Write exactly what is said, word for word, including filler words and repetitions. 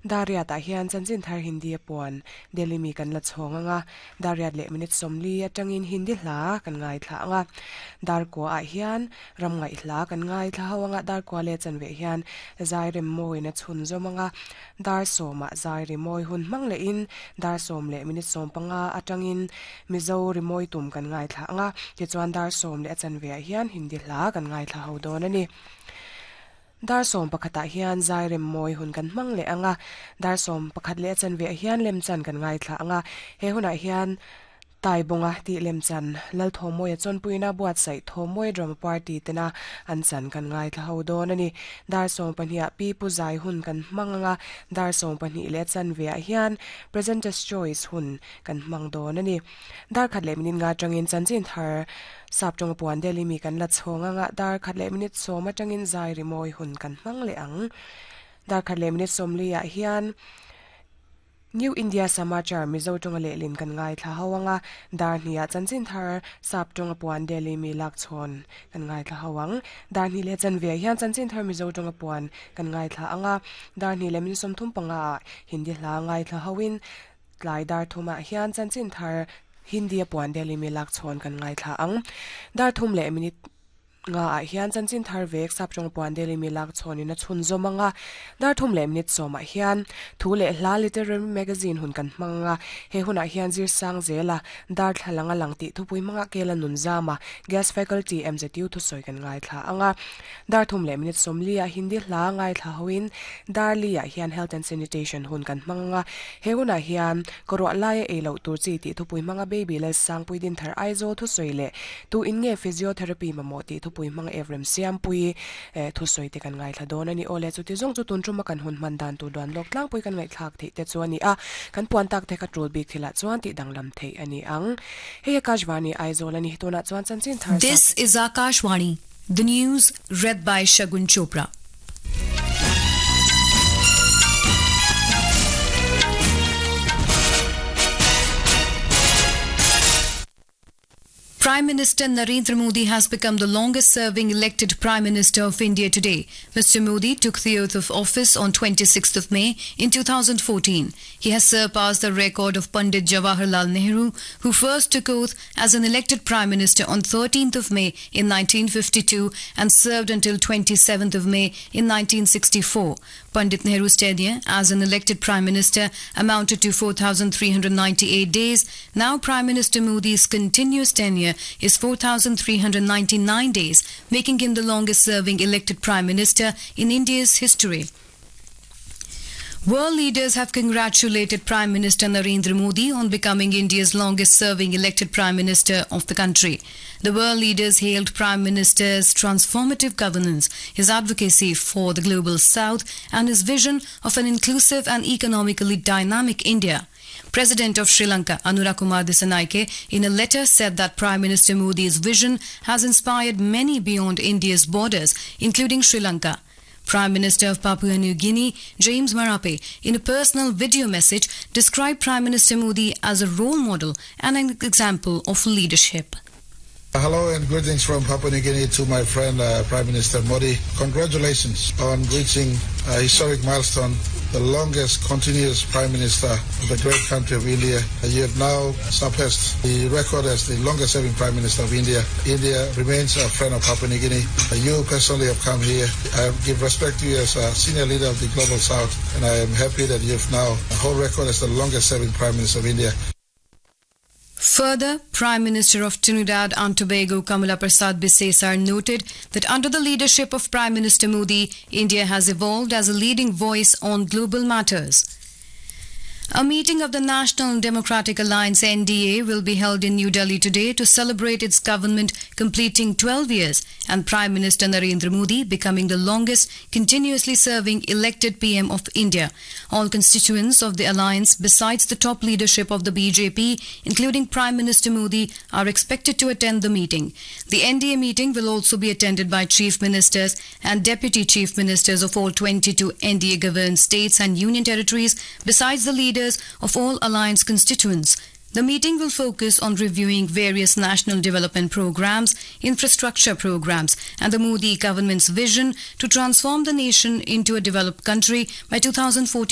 Dar riatah hian chanchin thar Hindi a puan Delhi mi kan la chhawng anga dar riat leh minute sawmli atangin Hindi hla kan ngaithla anga dar kua ah hian ram ngaih hla kan ngaithla ho anga dar kua leh chanve hian zai rem mawi na chhun zawm anga dar sawmah zai rimawi hun hmang leh in dar sawm leh minute sawm panga atangin Mizo rimawi tum kan ngaithla anga tichuan dar sawm leh a chanve ah hian Hindi hla kan ngaithla ho dawn ani. Dar sawm pakhatah hian zai rem mawi hun kan hmang leh anga dar sawm pakhat leh a chanve ah hian lem chan kan ngaithla anga he hunah hian tai bunga tih lem chan lal thawmawia chawnpuina buatsaih thawmawi drama party tena an chan kan ngaithla ho dawn ani. Dar sawm pahnih ah pi pu zai hun kan hmang anga dar sawm pahnih leh a chanve ah hian presenters choice hun kan hmang dawn ani. Dar khat leh minute nga atangin chanchin thar sap tawng puan Delhi mi kan la chhawng anga dar khat leh minute sawm atangin zai rimawi hun kan hmang leh ang. Dar khat leh minute sawmli ah hian New India Samachar Mizo tawnga lehlin kan ngaithla ho anga dar hnih ah chanchin thar sap tawnga puan Delhi mi lak chhawn kan ngaithla ho ang. Dar hnih leh chanve ah hian chanchin thar Mizo tawnga puan kan ngaithla anga dar hnih leh minute sawmthum panga ah Hindi hla ngaithla hoin tlai dar thumah hian chanchin thar Hindi a puan Delhi mi lak chhawn kan ngaithla ang. Dar thum leh minute nga ah hian chanchin thar vek sap tawng puan Delhi mi lak chhawnin a chhun zawm anga dar thum leh minute sawmah hian thu leh hla literary magazine hun kan hmang anga he hunah hian zir sang zela dar thlalanga lang tih thupui hmanga kela nun zama gas faculty M Z U thusawi kan ngaithla anga dar thum leh minute sawmli ah Hindi hla ngaithla hoin dar li ah hian health and sanitation hun kan hmang anga he hunah hian kawruah laia ei loh tur chi tih thupui hmanga baby lal sangpui din thar Aizawl thusawi leh tu in nge physiotherapy mamawh tih thupui hmanga Evrem Siampui eh thusawi te kan ngaithla dawn ani. Awle, chuti zawng chu tun tuma kan hun hman dan tur duan lawk tlangpui kan ngaihthlak theih te chu ani a, kan puan tak te kha tul bik thilah chuan tih danglam theih ani ang. Hei Akashvani Aizawl ani, tunah chuan chanchin thar sap This is Akashvani, the news read by Shagun Chopra. Prime Minister Narendra Modi has become the longest-serving elected Prime Minister of India today. Mister Modi took the oath of office on twenty-sixth of May in two thousand fourteen. He has surpassed the record of Pandit Jawaharlal Nehru, who first took oath as an elected Prime Minister on thirteenth of May in nineteen fifty-two and served until twenty-seventh of May in nineteen sixty-four. Pandit Nehru's tenure as an elected Prime Minister amounted to four thousand three hundred ninety-eight days. Now Prime Minister Modi's continuous tenure is four thousand three hundred ninety-nine days, making him the longest serving elected Prime Minister in India's history. World leaders have congratulated Prime Minister Narendra Modi on becoming India's longest serving elected Prime Minister of the country. The world leaders hailed Prime Minister's transformative governance, his advocacy for the global south, and his vision of an inclusive and economically dynamic India. President of Sri Lanka, Anura Kumar Dissanayake, in a letter said that Prime Minister Modi's vision has inspired many beyond India's borders, including Sri Lanka. Prime Minister of Papua New Guinea, James Marape, in a personal video message, described Prime Minister Modi as a role model and an example of leadership. Hello and greetings from Papua New Guinea to my friend uh, Prime Minister Modi. Congratulations on reaching a historic milestone, the longest continuous Prime Minister of the great country of India. You have now surpassed the record as the longest serving Prime Minister of India. India remains a friend of Papua New Guinea. You personally have come here. I give respect to you as a senior leader of the Global South, and I am happy that you have now a whole record as the longest serving Prime Minister of India. Further, Prime Minister of Trinidad and Tobago Kamala Prasad Bisesar noted that under the leadership of Prime Minister Modi, India has evolved as a leading voice on global matters. A meeting of the National Democratic Alliance N D A will be held in New Delhi today to celebrate its government completing twelve years and Prime Minister Narendra Modi becoming the longest continuously serving elected P M of India. All constituents of the alliance, besides the top leadership of the B J P, including Prime Minister Modi, are expected to attend the meeting. The N D A meeting will also be attended by chief ministers and deputy chief ministers of all twenty-two N D A governed states and union territories, besides the leaders of all alliance constituents. The meeting will focus on reviewing various national development programs, infrastructure programs, and the Modi government's vision to transform the nation into a developed country by two thousand forty-seven.